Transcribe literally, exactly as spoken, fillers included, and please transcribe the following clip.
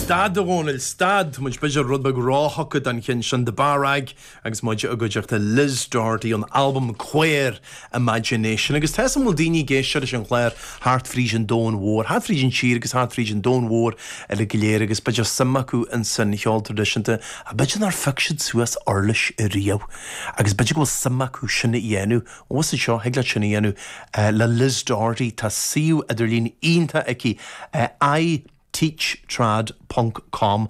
Stad a Dhónaill stad muid b'fhéidir rud beag róthugtha don cheann sin The Bar Rag agus muid i gcuideachta Liz Doherty an album Queer Imagination agus tá bhfuil daoine ag éisteacht leis an chlár thart fríd an domhan mhór, thart fríd an tír agus thart fríd an domhan mhór eile go léir agus b'fhéidir suim acu insan cheol traidisiúnta a b'fhéidir nár phioc siad suas uirlis riamh agus b'fhéidir go bhfuil suim acu sin a dhéanamh Ó seo thig leat sin a dhéanamh le Liz Doherty tá suíomh idirlín iontach aici uh, I teachtrad.com